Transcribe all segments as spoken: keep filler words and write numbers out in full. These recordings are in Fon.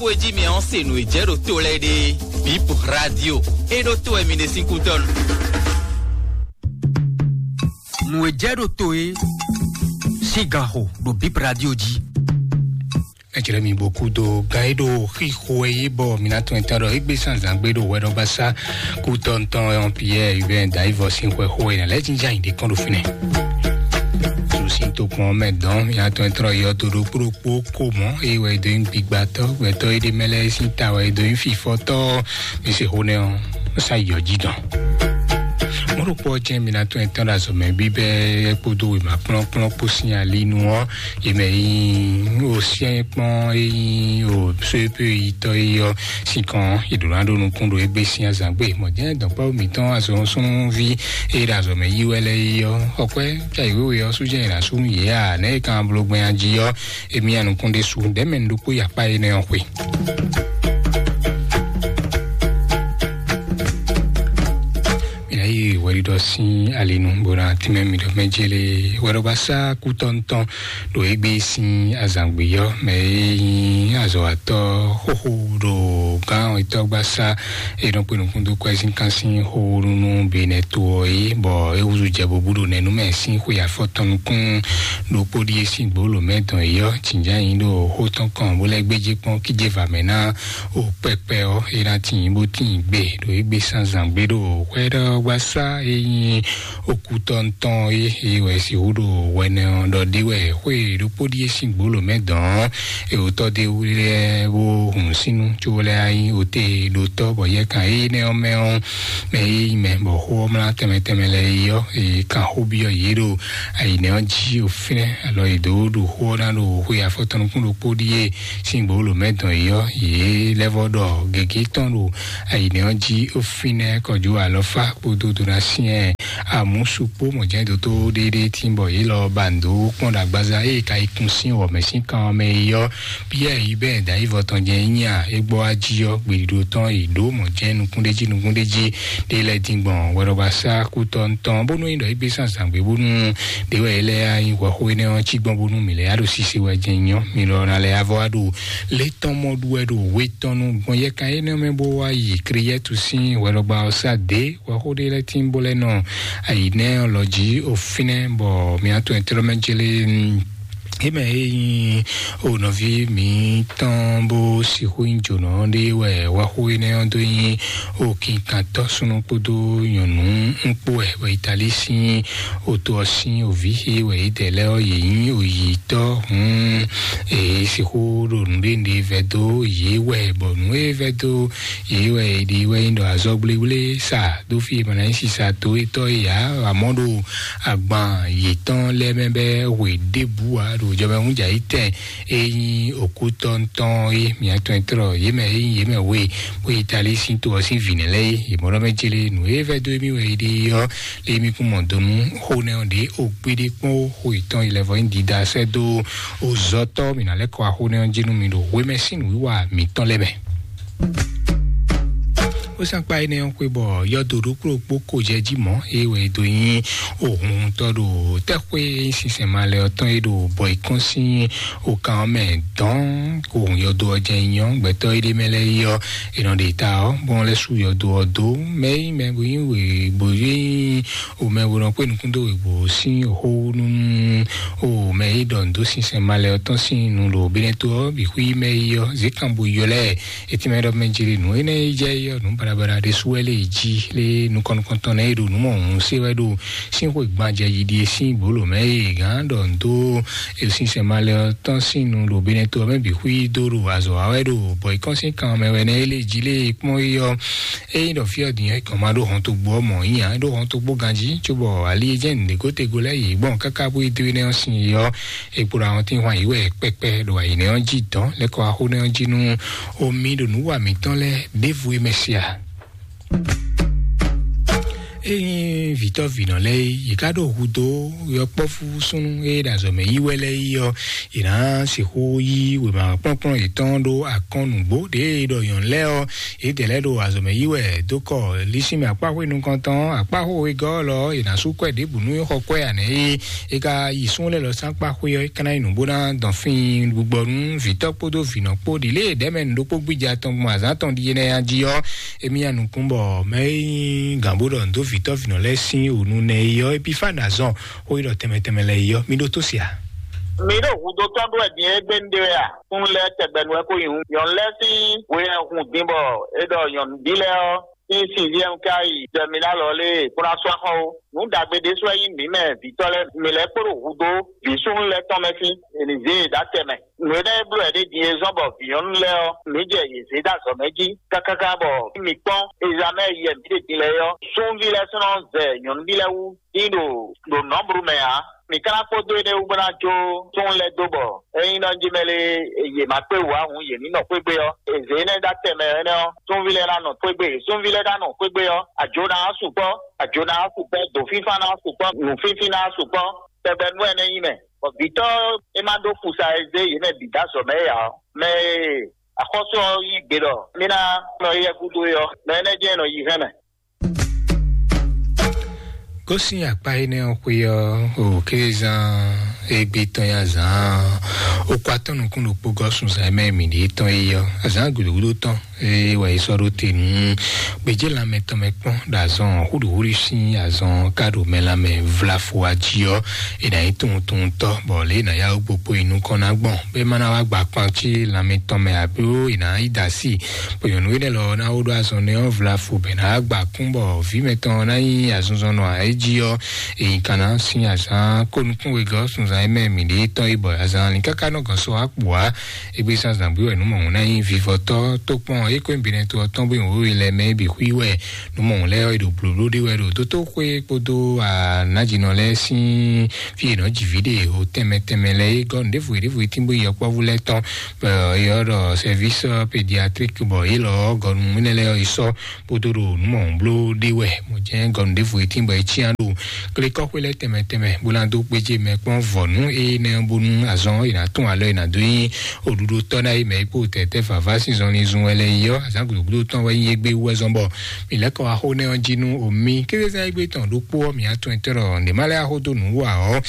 Xó e jí mi ɔ́ se nǔ e jɛ ɖo to lɛ́ɛ ɖe. Bip Radio. E ɖo to wɛ mi ɖe sín kútɔ́nu. Nǔ e jɛ ɖo to e sín gan xo ɖo Bip Radio jí. Ejlɛ mi bo kúdo gan e ɖo xixo e yí bɔ mi ná tɔn etɔn ɖɔ égbé sanzan gbé ɖo hwɛɖɔgbasá kútɔn tɔn ɔn Pierre Hubert Daivɔ sín xwɛ xo e nǎ lɛ́ jínjɔ́n ayǐ ɖé kɔn ɖo fínɛ́. Susi tokpɔn mɛ dɔn mi ná tɔn etɔn yɔ to ɖokpó ɖokpó ko mɔ eye wɛ dó nyí gbigbatɔ gbɛtɔ e ɖe mɛ lɛ́ɛ sín ta wɛ dó nyí fifɔtɔ mi se xo nɛ ɔn sa yɔ jí dɔn. Mɔɖokpɔ jẹ́ mi ná tɔn etɔn ɖo azɔ̌ mɛ bíbẹ́ kpódó wěma kplɔ́nkplɔ́n kpó sín ali nu ɔ́, yě mɛ yi o syɛ́n kpɔ́n e nyí o sóyépé yitɔ́ e ɔ́ sín kɔn è ɖǒ ná ɖó nukún ɖo égbé sín azǎn gbe. Mɔ̌ jɛ́n dɔ̌nkpɛ́vú mǐtɔn azɔ̌súnúví e ɖo azɔ̌ mɛ yí wɛ lɛ́ɛ é ɔ́, xɔkwɛ́ ca yě wéwe ɔ́ sú jɛ́n è nǎ sú nú yě a, nɛ̌ è ka bló gbɛn jí ɔ́, émí ya nukún ɖésú ɖɛ̌mɛ ɖokpó yi akpá énɛ́ ɔ́ xwe. Mina yi wɛɖiɖɔ sín alinu bona tìmɛ mi ɖɔ mɛ jele wɛɖɔgbasá kútɔntɔn ɖo égbé sín azǎngbé yɔ mɛ e nyí azɔ̌watɔ́ xóxó ɖo gán etɔ́gbasá e nɔ kpe nukúndú kwɛzínkan sín xóxó nú benɛ to ɔ́ é, bɔ é húzú jɛ bobú ɖo nɛnúmɛ sín xwe afɔtɔn nukún ɖokpó ɖíe sín gbǒlǒ mɛ dɔn é yɔ jǐnján nyi ɖo xó tɔn kɔn bó lɛ́ gbéjé kpɔ́n kíjé va mɛ ná o kpɛkpɛ ɔ́ é ná tíin bó tíin gbe ɖo égbé sánzán gbé ɖo xwɛɖɔgbasá e nyí okútɔ́ntɔn é é wɛ sixú ɖo hwɛnɛ ɔ́ ɖɔ ɖé wɛ xwé ɖokpó ɖíe sín gbǒlǒ mɛ dɔn ɔ́, ewotɔ́ ɖé lɛ́ɛ bó hun sínú có lɛ́ɛ nyí ote ɖotɔ́ bɔ yɛkan énɛ́ ɔ́ mɛ ɔ́ mɛ e nyí mɛ bɔ xó ɔ́ mlá tɛnmɛ tɛnmɛ lɛ́ɛ é ɔ́, è kan xó byɔ́ yě ɖo ayǐnɛ ɔ́ jí o fínɛ́ alɔ è dǒ ɖo xó ɔ́ ná ɖo xwe afɔtɔn nukún ɖokpó ɖíe sín gbǒlǒ mɛ dɔn é ɔ́, yě lɛ́ vɔ ɖɔ gěgé tɔn ɖo ayǐnɛ ɔ́ jí ó fínɛ́ kɔjú alɔfá kpódó donasyɛn amǔsukpó mɔ̌jɛ́n dótó ɖéɖé tín bɔ yě lɔ ba nǔ dó kpɔ́n ɖo agbaza ée ka yi kun sín wɔ̌ mɛ sín kan ɔ́ mɛ é ɔ́, Piyɛ́ɛ yi bɛ́ dǎyívɔ tɔn jɛ́n é nyí a, é gbɔ wá jí ɔ́, gbeɖiɖo tɔn yi ɖǒ mɔ̌ jɛ́n nukúnɖéjí nukúnɖéjí ɖé lɛ́ɛ dín gbɔn hwɛɖɔgbasá kútɔ́ tɔn, bónú é nyí ɖɔ é gbé sín azǎn gbé bónú ɖě wɛ é lɛ́ yá nyí hwɛxó énɛ́ ɔ́ cí gbɔn bónú mǐ lɛ́ yá ɖo sise wɛ jɛ́n nyɔ́. Mi lɔ ná lɛ́ yá vɔ wá ɖo lě tɔn mɔ ɖu wɛ ɖo we tɔn nu gbɔn yɛkan énɛ́ mɛ bó wá yi Kriyɛ́tu sín hwɛɖɔgba ɔ́ sá dě. Hwɛxó ɖé lɛ́ɛ tín bó lɛ́ nɔ ayǐ nɛ́ ɔ́ lɔ jí o fínɛ́, bɔ mǐ atɔn ɛtlɔ́mɛ jélé é mɛ é nyí o nɔví mǐtɔn bó sixú nyí jǒnɔ ɖé wɛ hwɛxó énɛ́ ɔ́ dó nyí o kinkantɔ́ súnnu kpódó nyɔ̌nu ŋkpó wɛ bɔ Italíi sín oto ɔ́ sín òví é wɛ yědɛɛ lɛ́ɛ ɔ́ yě nyí oyǐtɔ́. Hǔn è sixú ɖo nǔɖé nǔɖé vɛ́ dó yě wɛ, bɔ nǔ e vɛ́ dó yě wɛ è ɖi wɛ nyí ɖɔ azɔgblégblé sa dó fí e ma ná nyí sisa to étɔ́ é ǎ, amɔ̌ ɖo agban yětɔn lɛ́ɛ mɛ bɛ́ hwe ɖěbǔ ǎ ɖo jɔmɛhúnjǎyítɛn e nyí òkútɔ́ntɔn é. Mǐ atɔn e tlɔ yě mɛ e nyí yě mɛ we bó yi Italíi sín to ɔ́ sín vǐnɛ lɛ́ɛ é. Yě mɔ ɖɔ mɛ céle nǔ e vɛ́ dó émí wɛ è ɖe ɔ́, lé émí kún mɔ do nú xó nɛ́ ɔ́ ɖě o gbéɖé kpɔ́n ó. Xó yětɔn yi lɛ́ vɔ nyí dida sɛ́ dó ozɔ́tɔ́ mǐ ná lɛ́ kɔ axó nɛ́ ɔ́ jí nú mi ɖo hwemɛ sín nǔwiwa mǐtɔn lɛ́ɛ mɛ. Ó sán kpá énɛ́ ɔ́ xwé bɔ yɔdo ɖokpó ɖokpó ko jɛ jí mɔ̌, é wɛ é dó nyí ohun tɔ́ ɖo tɛ́xwé e nyí sinsɛn malɛ ɔ́ tɔn é ɖo bɔ yi kɔn sín okan ɔ́ mɛ dɔn ko hun yɔdo ɔ́ jɛ nyɔ gbɛtɔ́ é ɖé mɛ lɛ́ɛ yi ɔ́, è nɔ ɖe ta ɔ́ bó lɛ́ sú yɔdo ɔ́ dó mɛ yi mɛ bó nyí wě bó nyí o mɛ bó nɔ kpé nukún dó wěgbó sín xó nú o mɛ yi ɖɔ nǔ dó sinsɛn malɛ ɔ́ tɔn sín nu ɖo benɛto ɔ́ bǐ xwí mɛ yi ɔ́ zě kan bó yɔ lɛ́ɛ. Etí mɛ ɖɔ mɛ jeli nǔ énɛ́ e jɛ yɔ nǔ baɖabaɖa ɖé sú wɛ lé jí lé nukɔn nukɔntɔn nɛ e ɖo nǔ mɔ hǔn sé wɛ ɖo sín xwe gban jɛ yiɖi e sín gbolo mɛ e gán ɖɔ ndo e sinsɛn ma lɛ ɔ́ tɔn sín nu ɖo benɛto ɔ́ mɛ bǐ xwí dó ɖo azɔ wa wɛ ɖo bɔ ikɔn sín kan mɛ wɛ nɛ e lé jí lé e kpɔn e yɔ. Eyi ɖɔ fí ɔ́ din ɔ́ ikɔn ma ɖó hɔn to gbó ɔ́ mɔ yíyan ɖó hɔn to gbó ganjí cóbɔ ali e jẹ́ nǔɖé gótego lɛ́ yě gbɔn káká bó yi dó énɛ́ ɔ́ sin yɔ. Ekpo ɖo àwọn tí ń hwan yǐ wɛ kpɛkpɛ ɖo ayǐnɛ ɔ́ jí dɔn lɛ́kɔ axó nɛ́ ɔ́ jí nú omi ɖo nǔ wa mǐtɔn lɛ́ɛ ɖěvo é mɛ sia. Ényí vǐtɔ́ vǐnɔ lɛ́ɛ é, yě ká ɖo hudó yɔkpɔ́vú súnnu e ɖo azɔ̌ mɛ yí wɛ lɛ́ɛ é ɔ́, yě ná sixú yí wěma kplɔ́nkplɔ́n yětɔn ɖó akɔn nǔgbó ɖě e ɖɔ nyɔ̌nu lɛ́ɛ ɔ́, yědɛɛ lɛ́ɛ ɖo azɔ̌ mɛ yí wɛ dó kɔ lísínmɛ akpáxwé nukɔntɔn akpáxwé wegɔ́ lɔ ɔ́, yě ná sú kwɛ́ ɖěbǔ nú xɔ kwɛ́ ǎ nɛ́ é. É ka yi súnnu lɛ́ɛ lɔ sín akpáxwé ɔ́, é ka ná nyí nǔ bó ná dɔn fíin gbigbɔ nú vǐtɔ́ kpódó vǐnɔ kpó ɖi lě e ɖɛ̌ mɛ nǔ ɖokpó gbíja tɔn gbɔn azǎn tɔn ɖíe nɛ́ jí ɔ́. Émí ya nukún bɔ mɛ e nyí gǎn bó ɖɔ nǔ dó vǐtɔ́ vǐnɔ lɛ́ɛ sín wǔ nú nɛ e ɔ́, Epifáni azɔn xó yi ɖɔ tɛnmɛ tɛnmɛ lɛ́ɛ é ɔ́, mi ɖótó se a? Mi ɖo hudó tɔn ɖó wɛ din é gbé nu ɖé wɛ a? Kún lɛ́ɛ tɛgbɛ nu wɛ ko nyi hǔn. Nyɔ̌nu lɛ́ɛ sín hwe hɛn hun din bɔ é ɖɔ nyɔ̌nu bí lɛ́ɛ ɔ́, sín sixième ka yi dɛmilálɔ lé kplɔ́n asú axɔ ó. Nǔ ɖagbe ɖésú wɛ nyí mǐ mɛ vǐtɔ́ lɛ́ɛ, mǐ lɛ́ kpo ɖo hudó vǐ súnnu lɛ́ɛ tɔn mɛ sín, è nǐ zé yě ɖó atɛ mɛ. Nǔ énɛ́ e bló wɛ ɖé din e zɔ́n bɔ vǐ nyɔ̌nu lɛ́ɛ ɔ́, mǐ jɛ yě zé ɖó azɔ̌ mɛ jí kákáká bɔ mǐ kpɔ́n ezamɛ yɛ mǐ ɖe din lɛ́ɛ ɔ́, súnví lɛ́ɛ sɔ́ nɔ zɛ nyɔ̌nuví lɛ́ɛ wú dín ɖo ɖo nɔ̌blu mɛ ǎ. Mǐ ka ná kpódó énɛ́ wú bó ná jó súnnu lɛ́ɛ dó bɔ ényí nɔ jí mɛ lé yě ma kpé wǔ ǎ hǔn, yě ní nɔ xwé gbé ɔ́, è zě énɛ́ ɖó atɛ mɛ énɛ́ ɔ́, súnví lɛ́ɛ ná nɔ xwé gbé, súnví lɛ́ɛ ná nɔ xwé gbé ɔ́, ajo ná wá sukpɔ́, ajo ná wá sukpɔ́, dǒfínfán ná wá sukpɔ́, nǔfínfín ná wá sukpɔ́, tɛgbɛ nú wɛ é nɛ́ nyí mɛ. Bɔ vǐtɔ́ e ma ɖó fusa e zé yě mɛ bǐ dó azɔ̌ mɛ é ǎ ɔ́, mɛ e axɔ́sú ɔ́ yí gbe ɖɔ mí ná nɔ yɛ gúdo é ɔ́, mɛ énɛ́ jɛ́n nɔ yi hɛn mɛ. Gosín akpá énɛ́ ɔ́ xwé ɔ́, o kézán égbé tɔn ya zán o kɔ atɔ́ nukún ɖokpó gɔ́ sunzán mɛ mǐ ɖě tɔn é ɔ́, azán gǔdúgúdú tɔn é wɛ é sɔ́ ɖó te nú gbějé lanmɛ tɔn mɛ kpɔ́n ɖo azɔn húɖuhúɖu sín azɔn ká ɖo mɛ lanmɛ vlafo ají ɔ́, è nǎ nyí tunwuntunwuntɔ́, bɔ lě è nǎ yá wú gbokpó yi nukɔn ná gbɔn, bɔ é má ná wá gba kpan cí lanmɛ tɔn mɛ, alo è nǎ yi da sí, bɔ nyɔ̌nu énɛ́ lɔ ná wó ɖó azɔn nɛ́ ɔ́ vlafo, bɔ è nǎ wá gba kún, bɔ vǐ mɛtɔn ná nyí azɔnzɔnnɔ ǎ é jí ɔ́, è nyi kan ná sín azǎn kó nukún wegɔ́ sunzán é mɛ mǐ ɖě tɔn yi, bɔ azǎn lǐn káká nɔ gɔn sɔ wá kpǔ wá. Égbé zán zǎngbé wɛ nǔ mɔ̌hun ná nyí vivɔtɔ́ tó kpɔn é kó nyí binɛ to ɔ́ tɔn bó nyí wěwe lɛ́ɛ mɛ é bǐ xwí wɛ. Nǔ mɔ̌hun lɛ́ɛ ɔ́, è ɖo blǒbló ɖé wɛ ɖo dótóxwé kpódó anájinɔ lɛ́ɛ sín fí è nɔ ji vǐ ɖe o tɛnmɛ tɛnmɛ lɛ́ɛ é gɔ́ nǔ ɖěvo ɖěvo é tín bó yi yɔkpɔ́vú lɛ́ɛ tɔn, bɔ é ɔ́ ɖɔ sɛvísɔ pédiatrik, bɔ é lɔ ɔ́ gɔnu énɛ́ lɛ́ɛ ɔ́ yi sɔ́ kpódó ɖo nǔ mɔ̌hun bló ɖé wɛ. Mɔ̌ jɛ́n gɔnu ɖěvo é tín bɔ é cyán ɖo klékɔ́xwé lɛ́ɛ tɛnmɛ tɛnmɛ bó ná dó gbéjé mɛ kpɔ́n vɔ̌nu énɛ́ ɔ́, bónú azɔn é ná tún alɔ é ná dó nyí oɖuɖotɔ́ ná yi mɛ yi kpó tɛtɛ vava sín zɔnlin zun wɛ lɛ yi ɔ́, azǎn gǔdúgúdú tɔn wɛ nyí égbé wú wɛ zɔn bɔ mǐ lɛ́ kɔ wá xó nɛ́ ɔ́ jí nú omi kézezán égbé tɔn ɖokpó ɔ́, mǐ atɔn etɔ́ ɖɔ nǔɖé má lɛ́ wá xó dó nǔ wú ǎ ɔ́,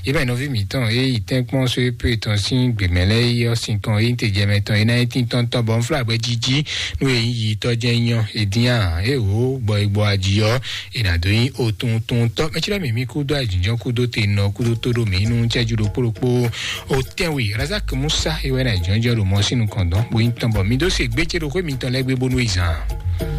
yě mɛ nɔví mǐtɔn e yi tɛ́nkpɔ́n só é pé tɔn sín gběmɛ lɛ́ɛ yi ɔ́, sin tɔn e nyí te jɛ mɛ tɔn é ná nyí tíntɔ́ntɔ́ bɔ un flá gbɛ jíjí nú e nyí yi tɔ́ jɛ́n nyɔ́. È dín a é wǒ gbɔ e gbɔ aji ɔ́, è nǎ dó nyí otuntuntɔ́. Mɛ cɛ́ mǐ mì kúdó ayǐjínjɔ́n kúdó te nɔ kúdó tó ɖó mǐ nú cɛ́jú ɖokpó ɖokpó. O tɛ́nwe Razak Musa é wɛ ná jɔ́njɔ́n ɖo mɔ sín nukɔn dɔn, bó nyí tɔn bɔ mi dó se gbécé ɖo xwé mitɔn lɛ́ɛ gbé bónú yi zan.